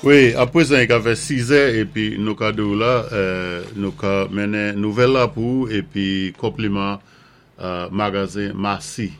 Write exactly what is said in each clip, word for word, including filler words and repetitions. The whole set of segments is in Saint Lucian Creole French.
Wi, apwézan i ka fè sizè épi nou ka di la, nou ka mennen nouvèl la pou épi konpliman magazen Massy.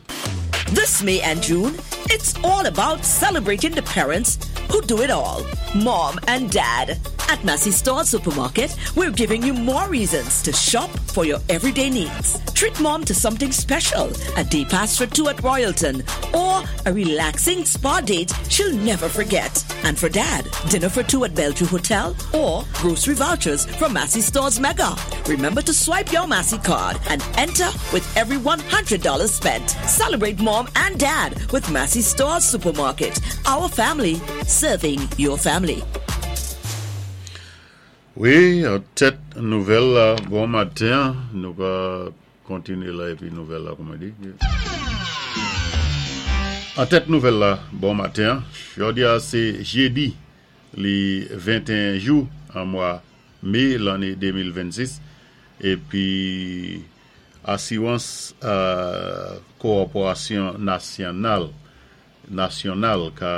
This May and June, it's all about celebrating the parents who do it all. Mom and Dad. At Massy Store Supermarket, we're giving you more reasons to shop for your everyday needs. Treat mom to something special, a day pass for two at Royalton, or a relaxing spa date she'll never forget. And for dad, dinner for two at Bellevue Hotel or grocery vouchers from Massy Stores Mega. Remember to swipe your Massy card and enter with every one hundred dollars spent. Celebrate mom and dad with Massy Stores Supermarket. Our family serving your family. Wi, tèt nouvèl la, bon maten, nou ka kontiné la épi nouvèl la, kouman di. An tèt nouvèl la, bon maten, jòdi a sé jédi, li venteyen jou an mwa mé lanné de mil vennsis, épi Asiwans Kòporasyon Nasyonal, nasyonal ka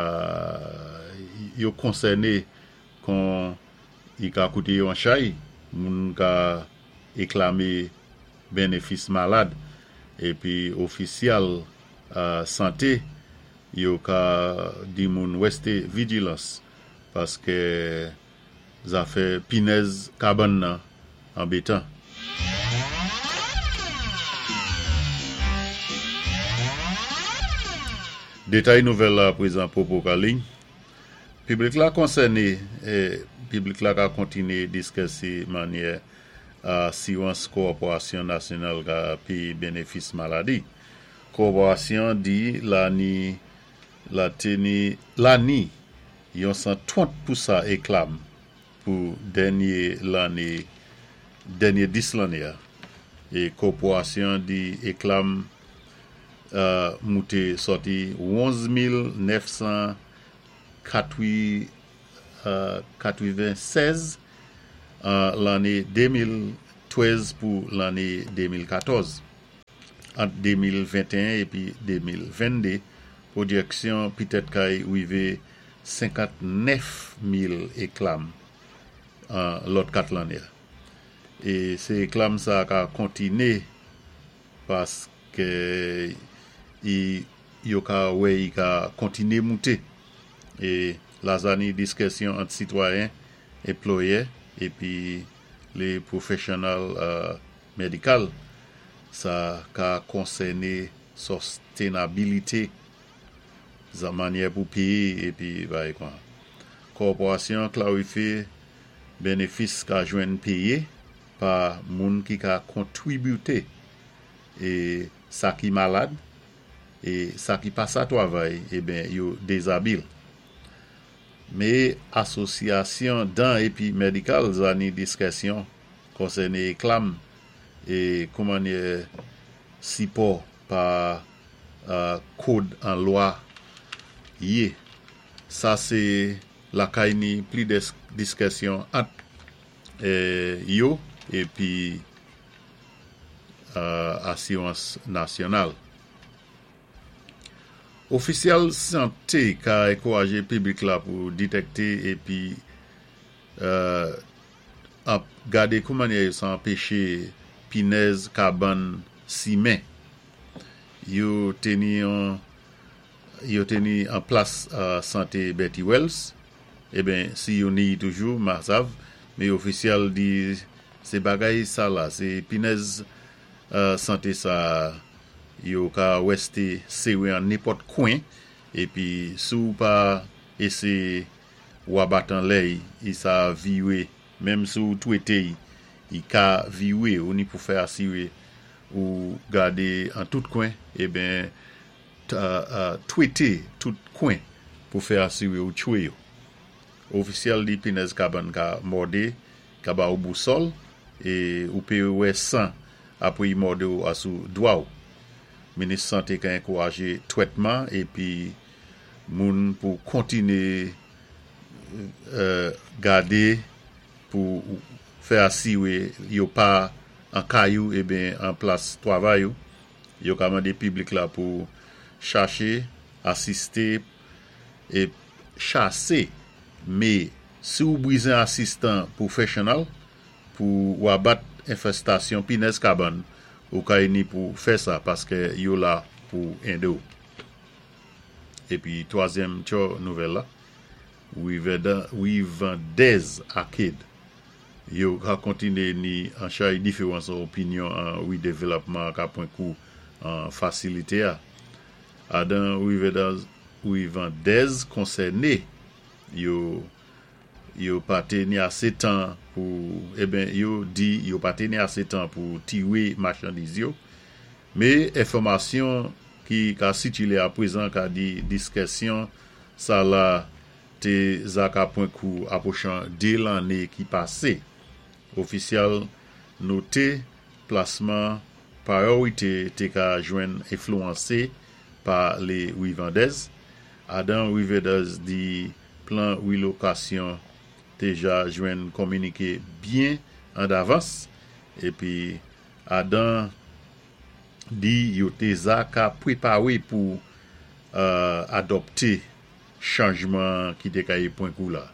yo konsèné kon i ka kouté yon chay, moun ka éklamé bénéfis malad, épi ofisyal santé yo ka di moun wèsté vijilans paské zafè pinèz kabann nan anbétan. Détay nouvèl la prezan popo ka liy. Piblik la konsèné, piblik la ka kontiné diskisi mannyè Asiwans Kòporasyon Nasyonal ka péyé bénéfis maladi. Kòporasyon di la ni la teni la ni yon san twant pousan éklam pou dènyé lanné dènyé dis lanné a. É kòporasyon di éklam mouté sòti onz mil nèf san katwennsèz an lanné de mil twèz pou lanné de mil katòz. Ant de mil venteyen épi de mil venndé, pwodjiksyon pitèt kay wivé senkantnèf mil éklam an lòt kat lanné. É sé éklam sa ka kontiné paské yo ka wè i ka kontiné mouté. É la zani diskisyon ant sitwayen, anplwayè épi lé pwofesyonèl médikal sa ka konsèné sostenabilité zan mannyè pou péyé épi bay kwa. Kòporasyon klarifyé bénéfis ka jwenn péyé pa moun ki ka kontwibité é sa ki malad é sa ki pa sa twavay é ben yo dézabil. Mé asosyasyon dan épi médikal zani diskisyon konsèné éklam é koumannyè sipò pa kòd an lwa yé. Sa sé lakay ni pli diskisyon ant yo épi Asiwans Nasyonal. Ofisyèl santé ka ankourajé piblik la pou détèkté épi ap gadé koumannyè sa anpéché pinèz kabann simen. Yo teni an plas santé Betty Wells, é ben si yo ni toujou ma sav, mé ofisyèl di sé bagay sa la, sé pinèz santé sa yo ka wèsté séwé an nenpòt kwen épi si ou pa éséyé wabat an lè i sa viwé, menm si ou twété i ka viwé ou ni pou fè asiwé ou gadé an tout kwen é ben twété tout kwen pou fè asiwé ou tchwé yo. Ofisyèl di pinèz kabann ka mòdé, ka ba ou bousòl é ou pé wè san apwé i mòdé ou asou dwa ou. Minis santé ka ankourajé twètman épi moun pou kontiné gadé pou fè asiwé yo pa an kay ou é ben an plas twavay ou. Yo ka mandé piblik la pou chaché, asisté é chasé mé Si ou bwizen asistan pwofèsyonèl pou wabat enfèstasyon pinèz kabann, ou kay ni pou fè sa paskè yo la pou édé ou. Épi twazyèm tjo nouvèl la, Wivandèz Arcade, yo ka kontiné ni an chay diféwans opinyon an ridévlopman ka pwan kou an fasilité a. Adan Wivandèz konsèné, yo yo pa té ni asé tan pou, eben yo di yo pa té ni asé tan pou tiwé machandiz yo, mé enfòmasyon ki ka sikilé apwézan ka di diskisyon sa la té za ka pwan kou apwochan dé lanné ki pasé. Ofisyèl noté plasman payorité té ka jwenn enflouwansé pa lé wivandèz. Adan wivandèz di plan rilokasyon déja jwenn kominiké byen an davans épi adan di yo té za ka pwépawé pou euh, adopté chanjman ki té kay pwan kou la.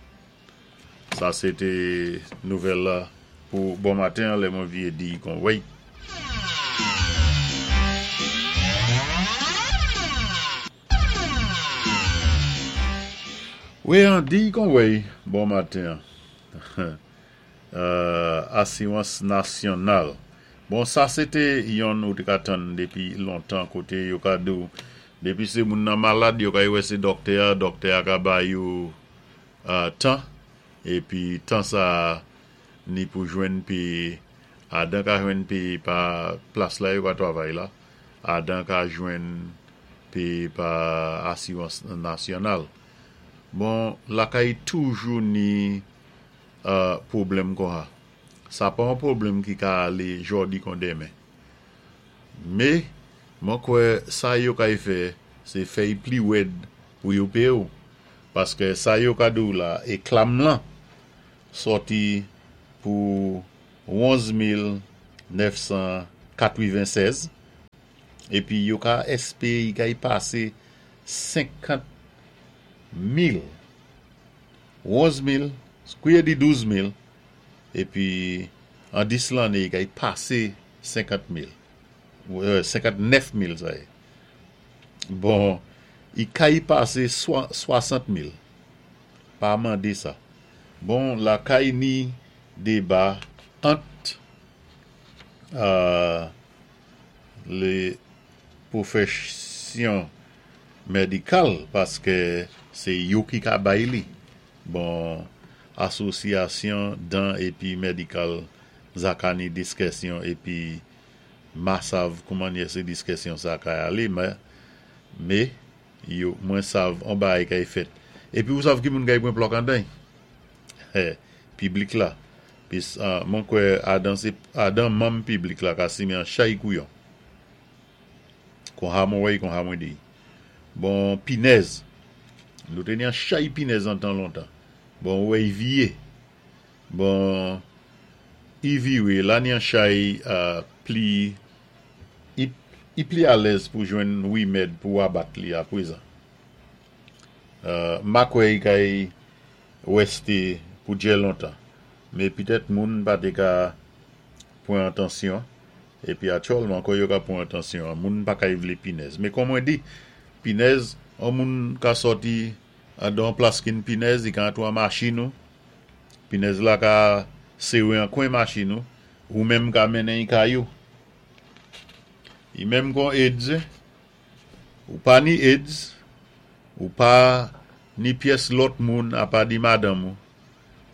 Sa sé té nouvèl la pou bon maten, lè mwen vyé di kon wèy. Wi, an di kon wèy, bon maten. euh, Asiwans nasyonal. Bon, sa sé té yon ou té ka tann dépi lontan koté yo ka di ou. Dépi sé moun nan malad, yo ka wè sé dòktè, dòktè ka bay yo euh, tan. Épi tan sa ni pou jwenn pi adan ka jwenn pi pa plas la yo ka twavay la. Adan ka jwenn pi pa asiwans nasyonal. Bon, lakay toujou ni euh, pwoblèm kon sa. Pa yon pwoblèm ki ka alé jòdi kon denmen. Mé, mwen kwè sa yo kay fè, sé fè-y pli wèd pou yo péyé ou. Paskè sa yo ka di ou la, é claim lan, sòti pou onz mil nèf san katwiven-sèz, épi yo ka èspéwé kay pasé senkant mil, onz mil, kouwè di douz mil, épi an dis lanné kay pasé senkant mil, senkant-nèf mil sa yé. Bon, i kay pasé swasant mil, pa mandé sa. Bon, lakay ni déba ant euh, lé pwofèsyon médikal paskè sé yo ki ka bay li. Bon, asosyasyon dan épi médikal za ka ni diskisyon épi ma sav kouman sé diskisyon sa ka alé, mé, mé yo mwen sav an bagay kay fèt. Épi ou sav ki moun kay pwan plòk andan? Piblik la. Pis uh, mwen kwè adan sé adan manm piblik la ka simen an chay kouyon. Kon ha mwen wè, kon ha mwen di. Bon, pinèz. Nou té ni an chay pinèz an tan lontan. Bon, wè, i vyé. Bon, i viwé, la ni an chay uh, pli, i, i pli alèz pou jwenn wimèd pou abat li apwézan. Uh, ma kwè i kay wèsté pou djè lontan. Mé pitèt moun pa té ka pwan atansyon. Épi aktyèlman kon yo ka pwan atansyon, moun pa kay vlé pinèz. Mé kon mwen di, pinèz, an moun ka sòti an plas ki ni pinèz, i ka antwé an machin ou. Pinèz la ka séwé an kwen machin ou, ou menm ka mennen i kay ou. I menm kon AIDS, ou pa ni AIDS, ou pa ni pyès lòt moun apa di madanm ou,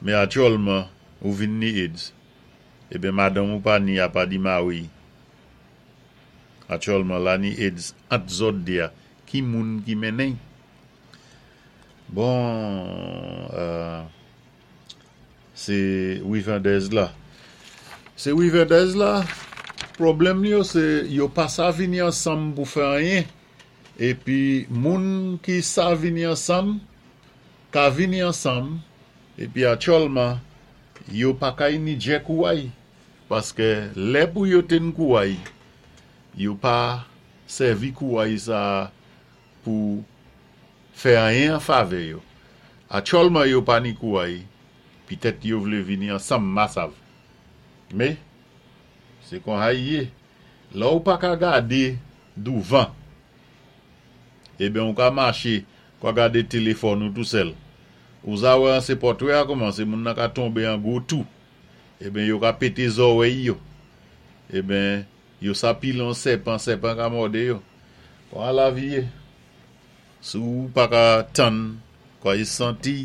mé aktyèlman ou vin ni AIDS. Eben madanm ou pa ni apa di mari. Aktyèlman la ni AIDS ant zòt dé a, ki moun ki mennen. Bon, euh, sé wivandèz la. Sé wivandèz la, pwoblèm yo sé yo pa sa vini ansanm pou fè anyen. Épi moun ki sa vini ansanm, ka vini ansanm, épi aktyèlman, yo pa kay ni djè kouway. Paskè lè pou yo ten kouway, yo pa sèvi kouway sa pou fè anyen an favè yo. Aktyèlman yo pa ni kouway, Pitèt yo vlé vini ansanm ma sav. Mé, sé kon sa i yé. Lè ou pa ka gadé douvan, eben ou ka maché kwa gadé téléfòn ou tou sèl. Ou za wè an sé pòtwé a kòmansé, moun nan ka tonbé an gwo tou. Eben yo ka pété zòwèy yo. Eben, yo sa pile an sèpan, sèpan ka mòdé yo. Kon lavi yé. Si ou pa ka tann, kwa y santi,